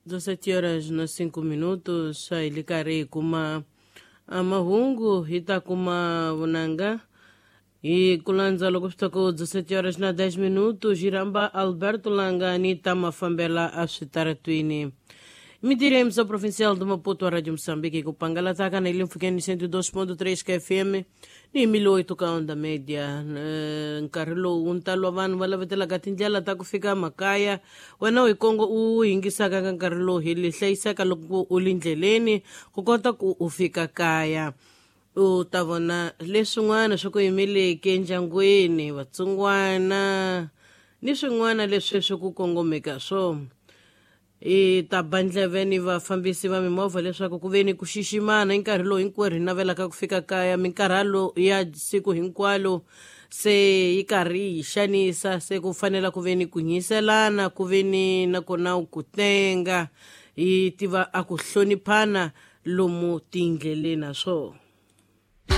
17 horas na 5 minutos, hi le karhi hi kuma mahungu, hi ta kuma vunanga hi ku landza loko swi ta ku 17 horas na 10 minutos. Hi rhamba Alberto Langani ta mafambela a switaratwini. Mintirho ya emissão provincial de Maputo, a Rádio Moçambique, ku pangalataka na ile mpfhukeni 102.3 ka FM ni 1008 ka onda média. Nkarhi lowu ntalo wa vanhu va lavetelaka tindlela ta ku fika makaya, wena u hi kongo u yingisaka ka nkarhi lowu hi li hlayisaka loko u li ndleleni ku kota ku u fika kaya, u ta vona leswin'wana swi ku yimeleke endyangwini, vatsongwana ni swin'wana leswi swi ku kongomeka swona. Hi ta ba ndleve ni vafambisi va mimovha leswaku ku ve ni ku xiximana hi nkarhi lowu hinkwerhu hi navelaka ku fika kaya. Minkarhalo ya siku hinkwalo se yi karhi yi xanisa, se ku fanela ku ve ni ku nyiselana, ku ve ni nakona ku tenga, hi tiva a ku hloniphana lomu tindleleni na swona.